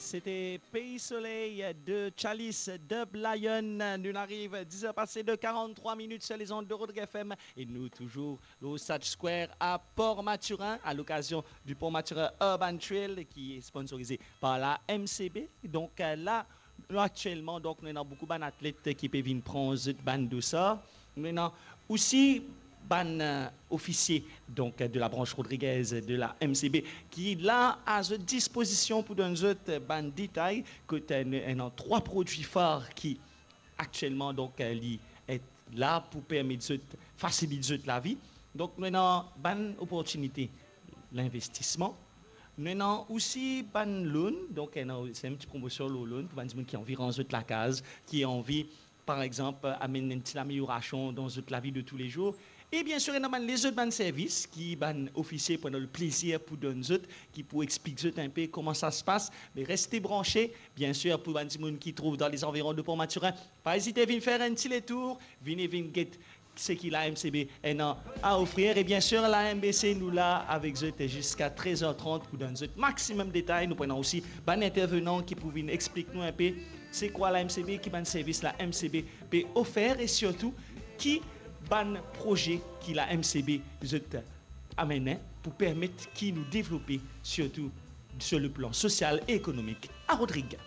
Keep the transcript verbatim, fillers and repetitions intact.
C'était Pays Soleil de Chalice Dub Lion. Nous arrive dix heures passées de quarante-trois minutes sur les ondes de Rodrigue F M et nous toujours au Sage Square à Port-Mathurin à l'occasion du Port-Mathurin Urban Trail qui est sponsorisé par la M C B. Donc euh, là, actuellement, donc, nous avons beaucoup d'athlètes qui peuvent venir prendre cette bande de ça. Nous avons aussi bann euh, ofisie donc de la branche rodriguez de la M C B ki la à disposition pour donner zot bann détail kot euh, nou ena trois produits phares qui actuellement donc euh, li est là pour permettre zot faciliter zot la vie. Donc nous avons bann opportunité l'investissement. Nous avons aussi bann loan, donc c'est une petite promotion loan pour bann dimoun qui envie rendre zot la case, qui envie par exemple, amener une petite amélioration dans zot la vie de tous les jours. Et bien sûr, il y a les autres bann services qui bann officiers prennent le plaisir pour donner zot, qui pour expliquer zot un peu comment ça se passe. Mais restez branchés, bien sûr, pour bann dimoun qui trouve dans les environs de Port-Mathurin. Pas hésiter à venir faire un petit tour, venez, venez get ce qui la M C B ena à offrir. Et bien sûr, la M B C nous là avec zot jusqu'à treize heures trente pour donner zot maximum de détails. Nous prenons aussi bann intervenant qui pour venir expliquer nous un peu c'est quoi la M C B, qui bann service la M C B peut offrir et surtout qui bann projet qui la M C B zot amener pour permettre qui nous développer surtout sur le plan social et économique. À Rodrigue.